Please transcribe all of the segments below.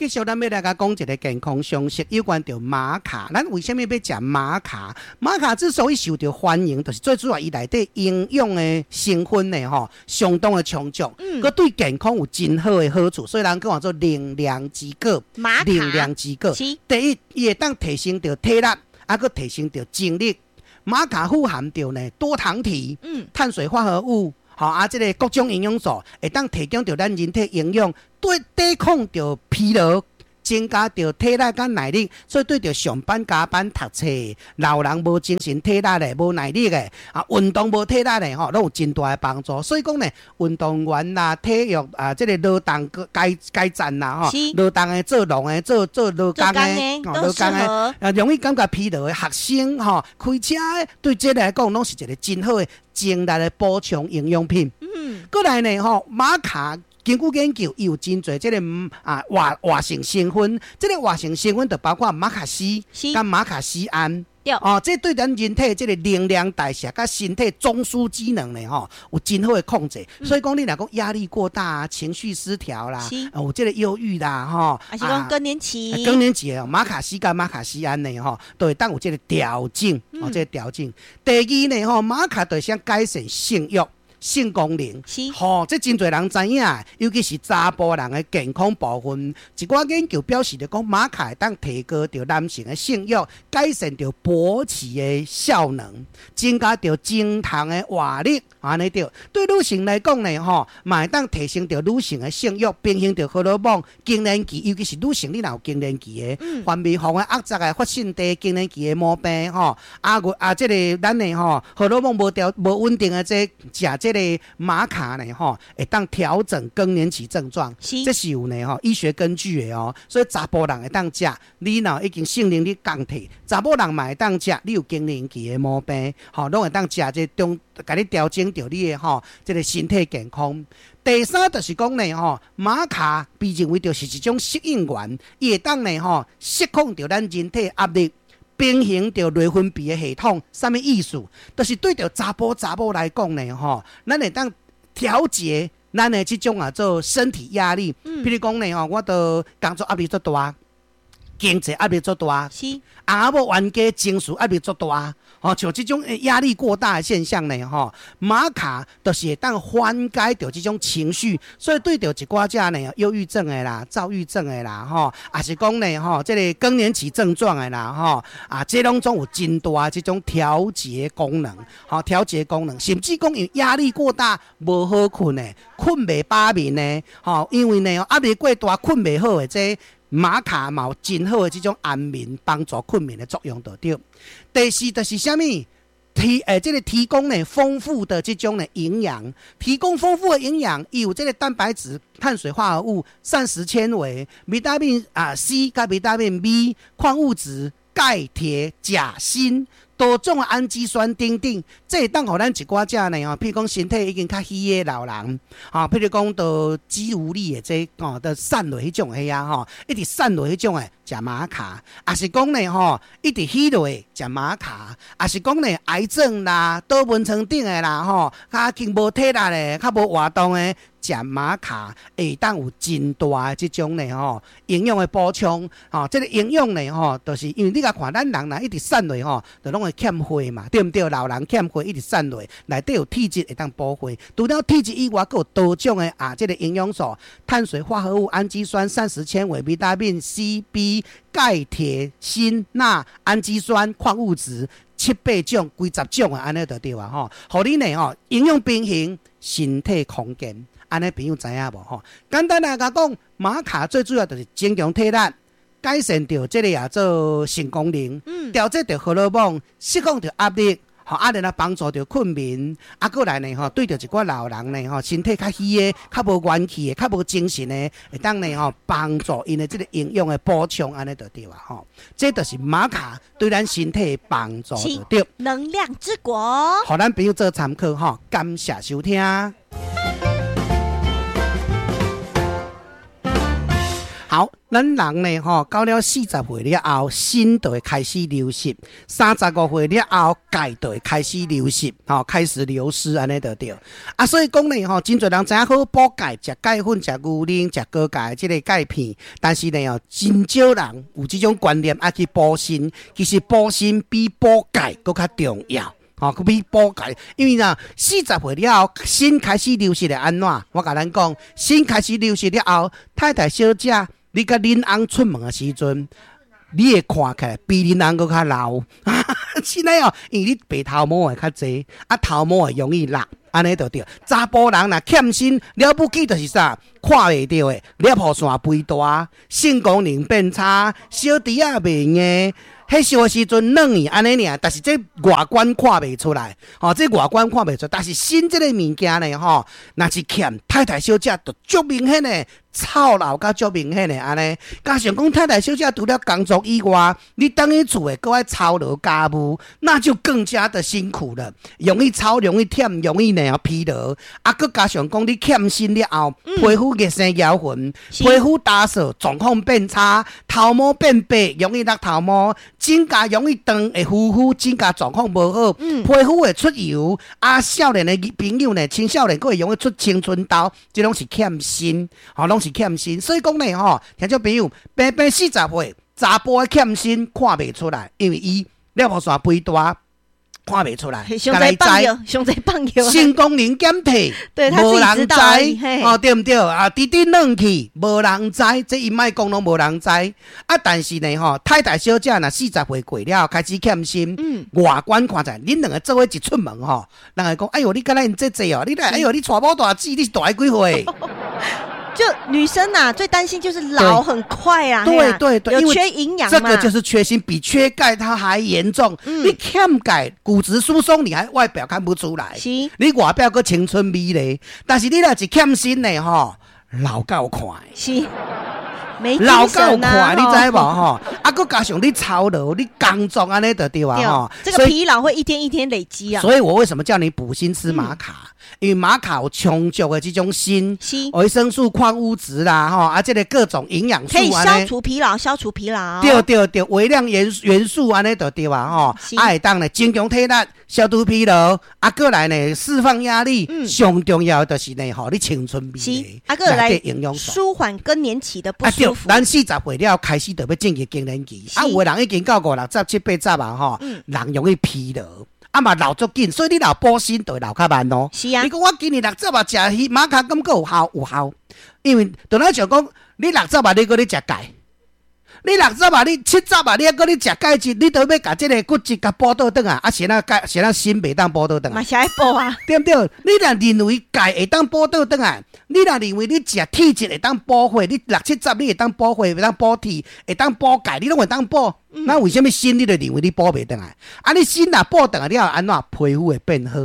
繼續咱欲來共講一个健康常識，有關著瑪卡。咱為啥物欲食瑪卡？瑪卡之所以受著歡迎，就是最主要伊內底營養的成分呢，吼，相當的充足，閣對健康有真好的好處，所以人講做能量之果。能量之果。第一，伊會當提升著體力，啊，閣提升著精力。瑪卡富含著呢多糖體、碳水化合物，吼啊，這个各種營養素會當提供著咱人體營養，對抵抗著疲勞，增加著體力佮耐力，所以對著上班加班讀冊老人無精神體力的、無耐力的啊，運動無體力的吼，攏有真大的幫助。所以講呢，運動員啦、體育啊，這个勞動階階層啦，吼，勞動的、做農的、做做勞工的、勞工的啊，容易感覺疲勞的學生吼，開車的，對這來講攏是一个真好的精力的補充營養品。過來呢，吼，瑪卡。根據研究，伊有真濟這个啊活活性成分，這个活性成分就包括瑪卡烯佮瑪卡醯胺。哦，這對咱人體這个能量代謝佮身體中樞機能呢，吼，有真好的控制。所以講，你若講壓力過大啊，情緒失調啦，有這个憂鬱啦，吼，抑是講更年期，更年期的瑪卡烯佮瑪卡醯胺呢，吼，都會當有這个調整，哦，這个調整。第二呢，吼，瑪卡就會改善性慾、性功能，吼，這真濟人知影，尤其是查埔人的健康部分。一寡研究表示著講，瑪卡會當提高著男性的性慾，改善著勃起的效能，增加著精蟲的活力，按呢對。對女性來講呢，吼，嘛會當提升著女性的性慾，平衡著荷爾蒙、更年期，尤其是女性，你若有更年期的，分泌房的壓雜的發性地更年期的毛病，吼，啊，啊，這个咱的吼荷爾蒙無調無穩定的這食這个瑪卡呢，吼，會當調整更年期症狀，這是有呢吼醫學根據的哦。所以查埔人會當食，你若已經性能力降低，查某人嘛會當食，你有更年期的毛病，吼，攏會當食這中，共你調整著你的吼這个身體健康。第三就是講呢，吼，瑪卡被認為著是一種適應原，伊會當呢吼釋放著咱人體壓力，平衡著內分泌的系統，啥物意思？就是對著查埔查某來講呢，吼，咱會當調節咱的這種啊做身體壓力。譬如講呢，吼，我著工作壓力足大，經濟壓力足大，翁仔某冤家情緒壓力足大，吼，像這種壓力過大的現象呢，吼，瑪卡就是會當緩解著這種情緒，所以對著一寡遮呢憂鬱症的啦、躁鬱症的啦，吼，抑是講呢，吼，這个更年期症狀的啦，吼，啊，這攏總有真大這種調節功能，吼，調節功能，甚至講因為壓力過大無好睏的，睏袂飽眠的，吼，因為呢壓力過大睏袂好的這瑪卡嘛有真好的這種安眠幫助睏眠的作用，就對。第四就是啥物？提欸，這个提供呢豐富的這種的營養，提供豐富的營養，伊有這个蛋白質、碳水化合物、膳食纖維、維他命啊 C 佮維他命 B、礦物質、鈣、鐵、鉀、鋅。多種的氨基酸等等，這會當予咱一寡遮呢吼，譬如講身體已經較虛的老人，吼，譬如講著肌無力的這吼，著瘦落彼種的啊吼，一直瘦落彼種的食瑪卡，抑是講呢吼，一直虛落食瑪卡，抑是講呢癌症啦、倒溫床頂的啦吼，較經無體力的、較無活動的。食瑪卡會當有真大的這種呢吼營養的補充，吼，這个營養呢吼，就是因為你共看咱人若一直瘦落吼，就攏會欠血嘛，對毋對？老人欠血一直瘦落，內底有鐵質會當補血。除了鐵質以外，閣有多種的啊，這个營養素、碳水化合物、氨基酸、膳食纖維、維他命 C、B、鈣、鐵、鋅、鈉、氨基酸、礦物質，七八種、幾十種的按呢就對啊吼，予你呢吼營養平衡，身體康健。按呢朋友知影無吼？簡單來講，瑪卡最主要就是增強體力，改善著這个啊做性功能，調節著荷爾蒙，釋放著壓力，吼啊，然後幫助著睏眠，啊，閣來呢吼，對著一寡老人呢吼，身體較虛的、較無元氣的、較無精神的，會當呢吼幫助𪜶的這个營養的補充，按呢就對啊吼。這就是瑪卡對咱身體的幫助就對。能量之果，予咱朋友做參考吼，感謝收聽。好，咱人呢吼，到了四十歲了後，鋅就會開始流失；35歲了後，鈣就會開始流失，吼，開始流失按呢就對。啊，所以講呢吼，真濟人知影好補鈣，食鈣粉、食牛奶、食高鈣這个鈣片，但是呢哦，真少人有這種觀念愛去補鋅。其實補鋅比補鈣閣較重要。吼，閣比補鈣，因為若四十歲了後，鋅開始流失會按怎？我共咱講，鋅開始流失了後，太太小姐，你佮恁翁出門的時陣，你會看起來比恁翁閣較老。是呢哦，因為你白頭毛會較濟，啊頭毛會容易落，按呢就對。查埔人若欠鋅了不起，就是啥？看袂著的，攝護腺肥大，性功能變差，小弟仔袂硬。彼時的時陣軟去按呢爾，但是這外觀看袂出來，吼，這外觀看袂出來，但是鋅這個物件呢，吼，若是欠太太小姐就足明顯的臭老甲足明顯的按呢。加上講太太小姐除了工作以外，你轉去厝的閣愛操勞家務，那就更加的辛苦了，容易操，容易忝，容易呢疲勞。啊，閣加上講你欠鋅了後，皮膚熱生搖痕，皮膚打掃狀況變差，頭毛變白，容易落頭毛。指甲容易斷，會膚膚指甲狀況無好，皮膚會出油。啊，少年的朋友呢，青少年閣會容易出青春痘，這攏是欠鋅，吼，攏是欠鋅。所以講呢，吼，聽眾朋友，平平四十歲，查埔的欠鋅看袂出來，因為伊攝護腺肥大。看袂出來，傷濟放藥，傷濟放藥，性功能減退，無人知，哦，對毋對？啊，直直軟去，無人知，這伊莫講攏無人知。啊，但是呢，吼，太太小姐若四十歲過了，開始欠鋅，外觀看起來，恁兩个做伙一出門吼，人會講，哎喲，你敢若𪜶姐姐哦，你來，哎喲，你娶某大姊，你是大伊幾歲？就女生呐，最擔心就是老很快啊。對對對，有缺營養，這個就是缺鋅，比缺鈣它還嚴重。你欠鈣，骨質疏鬆，你還外表看不出來。是，你外表閣青春美麗，但是你若是欠鋅的吼，老夠快。是，沒老夠快，你知無吼？啊，閣加上你操勞，你工作按呢就對啊吼。這個疲勞會一天一天累積啊。所以我為什麼叫你補鋅吃瑪卡？因為瑪卡有充足的這種鋅、維生素、礦物質啦，吼啊，這个各種營養素，可以消除疲勞，消除疲勞。對對對，微量元素按呢就對啊，吼，啊會當呢增強體力、消除疲勞，啊，閣來呢釋放壓力，上重要的就是呢，予你青春美麗，啊，閣來營養舒緩更年期的不舒服。咱四十歲了開始就欲進入更年期，啊，有的人已經到五六十、七八十啊，吼，人容易疲勞。啊嘛老足緊，所以你若補鋅就會老較慢哦。是啊。你講我今年六十啊，食瑪卡感覺有效有效，因為就咱像講，你六十啊，你閣咧食鈣；你六十啊，你70啊，你猶閣咧食鈣質，你都欲共這个骨質共補倒轉來，啊，是按怎鈣，是按怎鋅袂當補倒轉來？嘛是愛補啊。對毋對？你若認為鈣會當補倒轉來，你若認為你食鐵質會當補血，你六七十你會當補血，會當補鐵，會當補鈣，你攏會當補。那為啥物鋅你就認為你補袂轉來？啊，你鋅若補轉來了後，按怎皮膚會變好，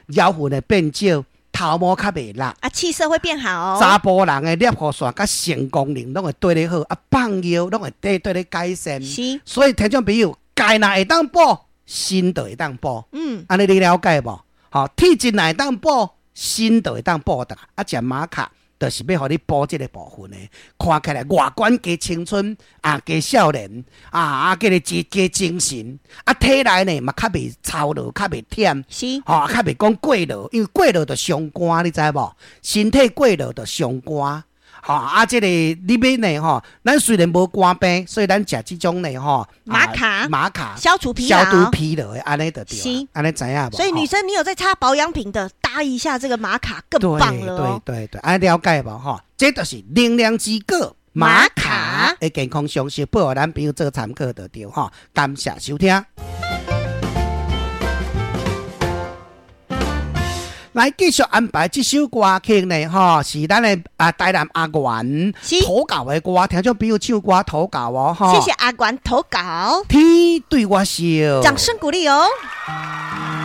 腰痕會變少，頭毛較袂落，啊，氣色會變好。查埔人的攝護腺佮性功能攏會綴咧好，啊，放尿攏會綴咧改善。所以聽眾朋友，鈣若會當補，鋅就會當補。按呢你了解無？吼，鐵質若會當補，鋅就會當補轉來。啊，食瑪卡就是欲予你補這个部分的，看起來外觀加青春啊，加少年啊，啊，加個加精神啊，體內呢嘛較袂操勞，較袂忝，吼，較袂講過勞，因為過勞就傷肝，你知無？身體過勞就傷肝，吼啊，這个你欲呢吼，咱雖然無肝病，所以咱食這種呢吼，瑪卡，瑪卡消除疲勞，消除疲勞的，按呢就對，按呢知影無？所以女生，你有在擦保養品的，搭一下這個瑪卡更棒了。對對對，按呢了解無吼？這就是能量之果瑪卡的健康常識，報予咱朋友做參考就對吼。感謝收聽。來繼續安排這首歌曲呢，吼，是咱的啊台南阿元投稿的歌，聽眾朋友唱歌投稿哦，吼，謝謝阿元投稿。天對我笑，掌聲鼓勵哦。